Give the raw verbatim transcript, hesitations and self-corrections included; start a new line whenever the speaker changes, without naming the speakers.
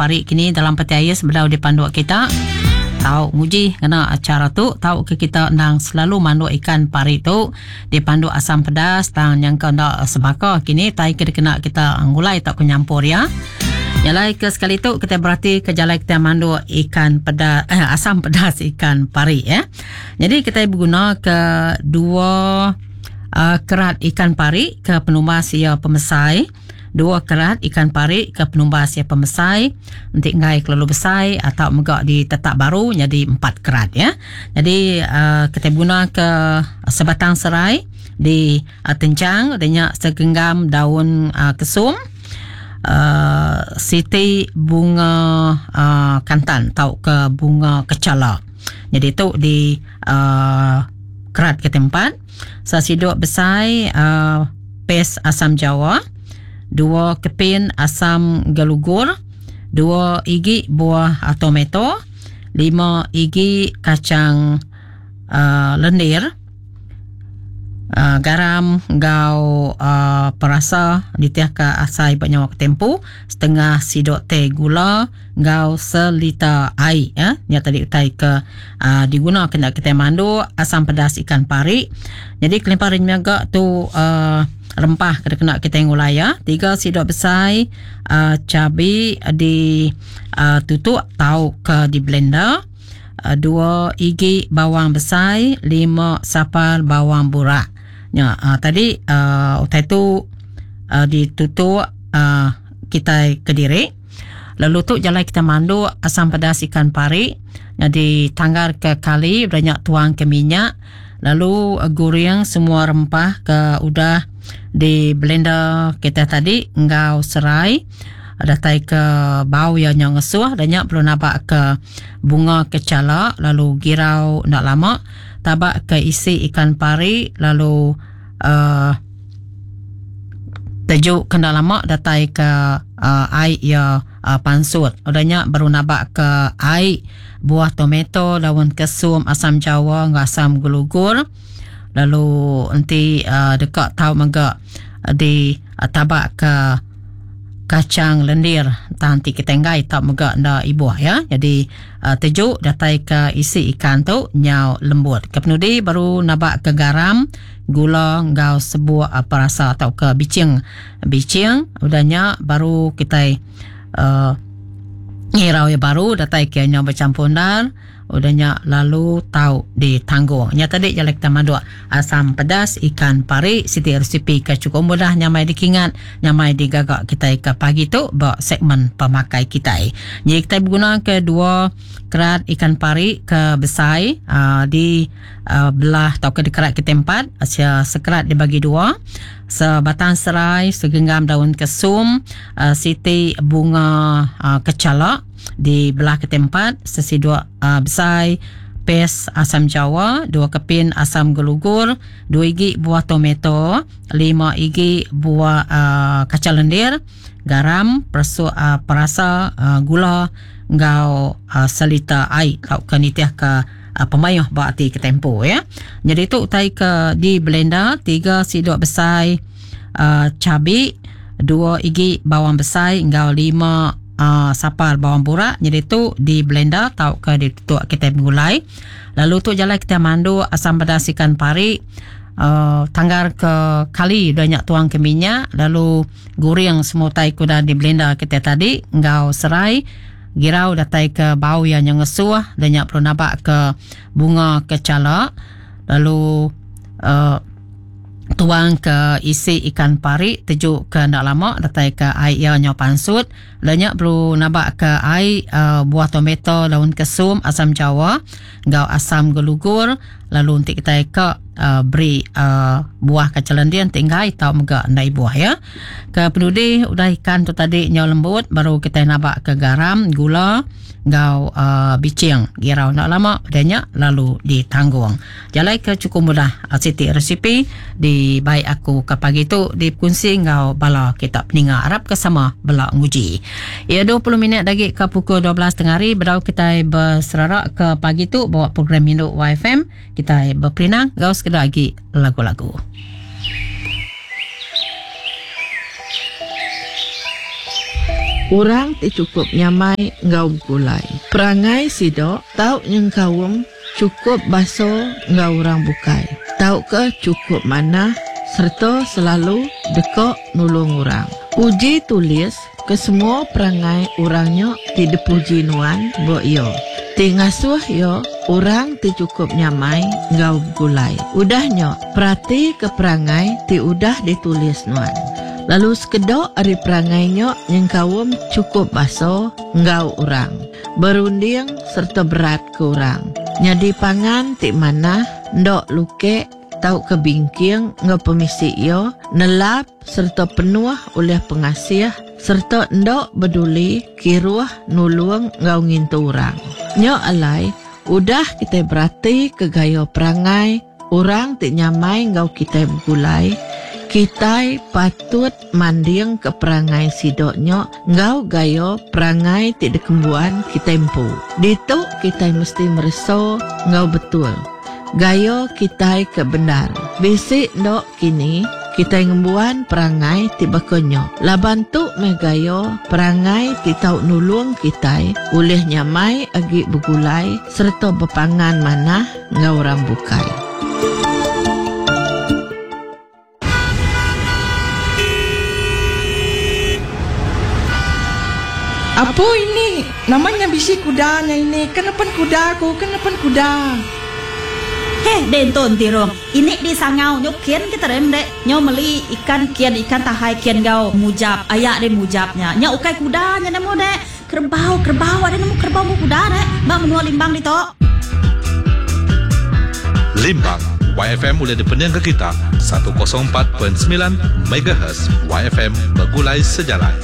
pari kini dalam peti ais sebedau dipanduk kita. Tau nguji ngena acara tu tau ke kita endang selalu manduk ikan pari tu dipanduk asam pedas tang nyangka enda sebaka kini tai ke dikena kita ngulai tau ke nyampur ya. Nyalai ke sekali tu kita berarti ke jalai kita manduk ikan pedas eh, asam pedas ikan pari ya. Jadi kita berguna ke dua uh, kerat ikan pari ke penumbas ia pemesai. Dua kerat ikan pari ke penumbas ia pemesai. Nanti ngai kelalu besar atau megak di tetap baru jadi empat kerat ya. Jadi uh, kita guna ke sebatang serai di uh, tencang adanya segenggam daun uh, kesum, uh, siti bunga uh, kantan atau ke bunga kecala. Jadi tu di uh, kerat ke tempat. Sesiduk besar uh, pes asam jawa, dua kepin asam gelugur, dua igi buah tomato, lima igi kacang uh, lendir, uh, garam ngau uh, perasa ditiah ke asai banyak waktu tempo, setengah sidok teh gula ngau selita air ya. Nya tadi utai ke uh, diguna kena kita mandu asam pedas ikan pari. Jadi kelimpahan agak tu uh, rempah kena kena kita ngulai ya. Tiga sidok besar uh, cabai di uh, tutuk tau ke di blender, uh, dua igi bawang besar, lima sapal bawang burak. Ya, uh, tadi uh, utai tu uh, ditutuk uh, kita kediri. Lalu tu jalan kita mandu asam pedas ikan pari. Jadi tanggar ke kali banyak tuang ke minyak. Lalu uh, goreng semua rempah ke udah di blender kita tadi ngau serai. Datai ke bau yang nyong ngesuh dan nyak perlu nabak ke bunga kecala, lalu girau nak lama tabak ke isi ikan pari, lalu uh, tejuk kena lama datai ke uh, air ya uh, pansut. Udahnya baru nabak ke air buah tomato, daun kesum, asam jawa, asam gelugur. Lalu nanti uh, dekat tau megak di uh, tabak ke kacang lendir nanti kita enggai tak megak nda ibuah ya. Jadi uh, tejuk datai ke isi ikan tu nyau lembut. Kepenudi baru nabak ke garam, gula ngau sebuah uh, perasa atau ke bicing. Bicing udahnya baru kita uh, ngirau ya baru datai ke nyau bercampur dar. Udahnya lalu tau ditanggung. Nya tadi jalan kita manduk asam pedas ikan pari, siti resipi ke cukup mudah nyamai dikingat, nyamai digagak kita ke pagi tu bak segmen pemakai kita. Jadi kita berguna ke dua kerat ikan pari ke besar uh, di uh, belah atau ke dikerat ke tempat, sekerat dibagi dua, sebatang serai, segenggam daun kesum, uh, siti bunga uh, kecalak di belah ke tempat, sesiduk uh, besar pes asam jawa, dua kepin asam gelugur, dua igi buah tomato, lima igi buah uh, kacang lendir, garam, persu, uh, perasa, uh, gula, ngau uh, selita air tau ke nitiah ke uh, pemayuh berarti ke tempo ya. Jadi tu utai ke di blender, tiga siduk besar uh, cabai, dua igi bawang besar, ngau lima Uh, sapal bawang burak. Jadi tu di blender tau ke ditutuk kita menggulai. Lalu tu jalan kita mandu asam pedas ikan pari, uh, tanggar ke kali banyak tuang ke minyak, lalu goreng semua tai kuda di blender kita tadi ngau serai, girau datai ke bau yang ngesuh, dan nyak perlu nabak ke bunga kecala, lalu uh, tuang ke isi ikan pari, tejuk ke ndak lama datai ke air ia nyo pansut. Lenyak perlu nabak ke air uh, buah tomato, daun kesum, asam jawa, ngau asam gelugur. Lalu untuk kita ke uh, beri uh, buah kacang lendir tinggai tau megak ndai buah ya. Ke penudi udah ikan tu tadi nyo lembut, baru kita nabak ke garam, gula, ngau uh, bicing, girau nak lama banyak lalu ditanggung. Jalai ke cukup mudah siti resipi di baik aku ke pagi tu dikongsi ngau bala kita peninga Arab ke sama bela nguji. Ya dua puluh minit lagi ke pukul dua belas tengah hari berau kita berserarak ke pagi tu bawa program Induk Y F M. Kita berperinang ngau sekedar lagi lagu-lagu.
Orang ti cukup nyamai enggau begulai. Perangai sido tau nyengkaum cukup baso enggau orang bukai. Tau ke cukup manah serta selalu deka nulung orang. Uji tulis ke semua perangai orangnya ti dipuji nuan bo iyo. Ti ngasuh yo orang ti cukup nyamai enggau begulai. Udahnya perhati ke perangai ti udah ditulis nuan. Lalu sekedok ari perangainya nyengkaum cukup baso enggau orang. Berunding serta berat ke orang. Nyadi pangan ti manah ndok lukek tau ke bingking enggau pemisi iyo nelap serta penuh oleh pengasih serta ndok beduli kiruh nulung enggau ngintu orang. Nyo alai udah kita berarti ke gaya perangai orang ti nyamai enggau kita begulai. Kita patut manding ke perangai sidoknya enggau gaya perangai ti dikembuan kita empu. Ditu kita mesti mereso enggau betul. Gaya kita ke benar. Bisi ndok kini kita ngembuan perangai ti bakonyo. Laban tu meh gaya perangai ti tau nulung kita oleh nyamai agi begulai serta berpangan manah enggau orang bukai.
Apa ini? Namanya bisi kudanya ini. Kenapa kuda aku? Kenapa kuda?
Heh, denton tirong. Ini di sangau nyo kian kita rem dek. Nyo meli ikan kian ikan tahai kian gau mujab. Ayak de mujabnya. Nyo ukai kudanya nemu dek. Kerbau, kerbau ada nemu kerbau mu kuda dek. Bang menua Limbang di tok.
Limbang Y F M boleh dipening ke kita seratus empat perpuluhan sembilan megahertz Y F M bergulai sejalan.